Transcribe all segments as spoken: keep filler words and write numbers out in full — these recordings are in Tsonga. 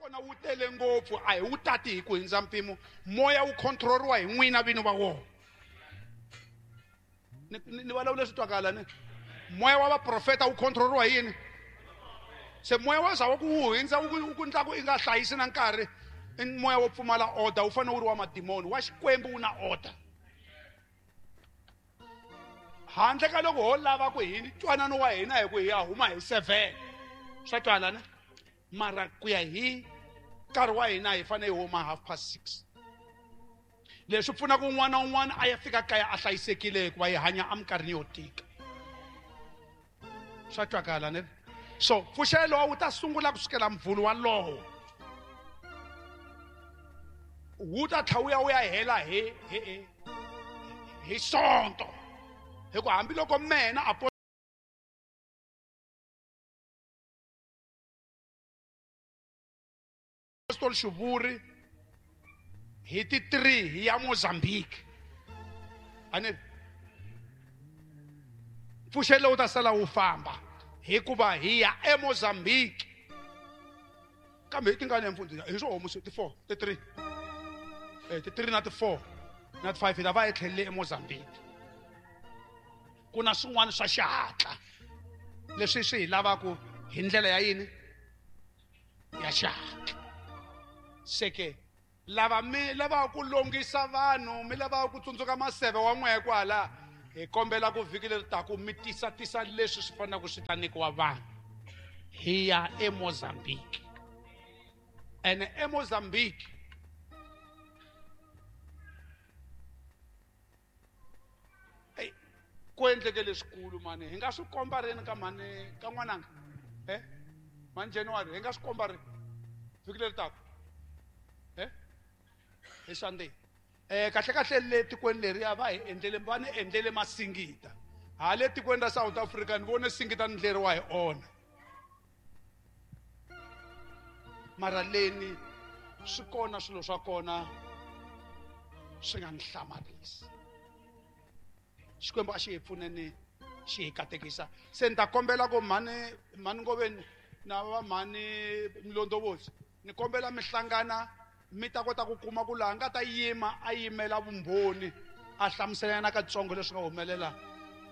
Kona wu tele ngopfu a hi wu tati hi ku hindza mpimo moya wu controlriwa hi n'wina vini va wona ni ni vulavula swi twakala ni moya wa vaprofeta wu controlriwa hi yini se moya wa zawa ku wu hindza wu ku endla ku i nga hlayisi na nkarhi i moya wo pfumala order wu fanele wu ri wa madimoni wa Xikwembu wu na order handle ka loko ho lava ku hi ntwanano wa hina hi ku hi ya huma hi seven swa twala ne mara ku ya hi nkarhi wa hina hi fanele hi huma half past six leswi pfunaka un'wana na un'wana a ya fika kaya a hlayisekile hikuva hi hanya eminkarhini yo tika swa twakala ne so pfuxelo wu ta sungula kusukela mvhulu walowo wu ta tlha wu ya wu ya hela hi hi hi sonto hi ku hambiloko mena apostol Xivuri hi ti three hi ya Mozambique ani pfuxelo wu ta sala wu famba hikuva hi ya eMozambique kambe hi tingani ya mfundhisi hi swo homusi ti four ti three eh ti three na ti four na ti five hi ta va hi tlhelele eMozambique ku na swin'wana swa xihatla leswi swi hi lavaka hi ndlela ya yini ya xihatla se ke lava mi lavaka ku longisa vanhu mi lavaka ku tsundzuka maseve wa n'wehe kwala hi kombela ku vhiki leri taku mi tisa tisa leswi swi fanelaka swi ta nyikiwa vanhu hi ya eMozambique ene eMozambique ku endleke leswikulu mani hi nga swi komba rini ka mhani ka n'wananga eh mhani January hi nga swi komba rini vhiki leri taku eh hi Sunday eh kahle kahle le tikweni leriya va hi endlele va ni endlele masingita ha le tikweni ra South Africa ni vone singita ni ndleriwa hi ona mara leni swi kona swilo swa kona swi nga ni hlamarisi Xikwembu a xi hi pfuneni xi hi katekisa se ni ta kombela ku mhani mhani Ngoveni na va mhani Mlondovotsi ni kombela mi hlangana mi ta kota ku kuma ku laha nga ta yima a yimela vumbhoni a hlamuselana katsongo leswi nga humelela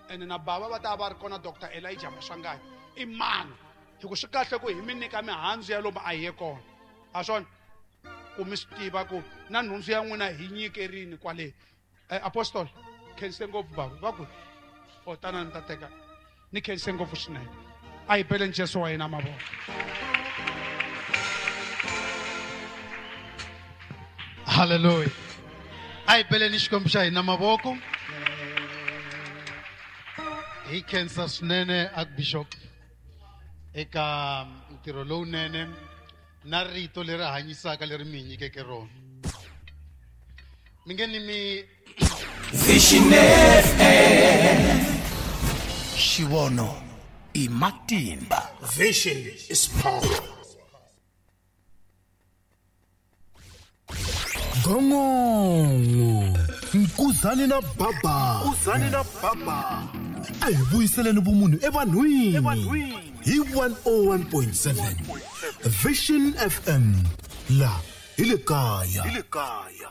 ene na bava va ta va ri kona Doctor Elijah Maswanganyi i mani hi ku swi kahle ku hi mi nyika mihandzu ya lomu a hi ye kona a swona ku mi swi tiva ku na nhundzu ya n'wina hi nyikerini kwale eh, apostol khense ngopfu bava va ku o tana ni ta teka ni khense ngopfu swinene a hi beleni Jesu wa hina mavoko Hallelujah. A hi beleni Xikwembu xa hina mavoko hi khensa swinene Archbishop eka ntirho lowunene na rito leri hanyisaka leri mi hi nyikeke rona mi nge ni mi Vision F M Xivono i matimba. Vision is power. Gongongo Nkuzani na baba Nkuzani na baba a hi vuyiseleni vumunhu evanhwini hi one oh one point seven Vision F M la hi le kaya hi le kaya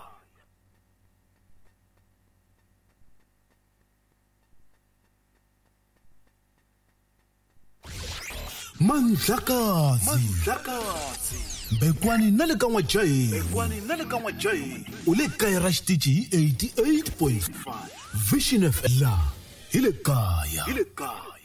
Mandlakazi Mandlakazi Bekwani na le ka N'wajahi Bekwani na le ka N'wajahi u le kaya ra xitichi hi eighty-eight point five Vision F M la hi le kaya hi le kaya.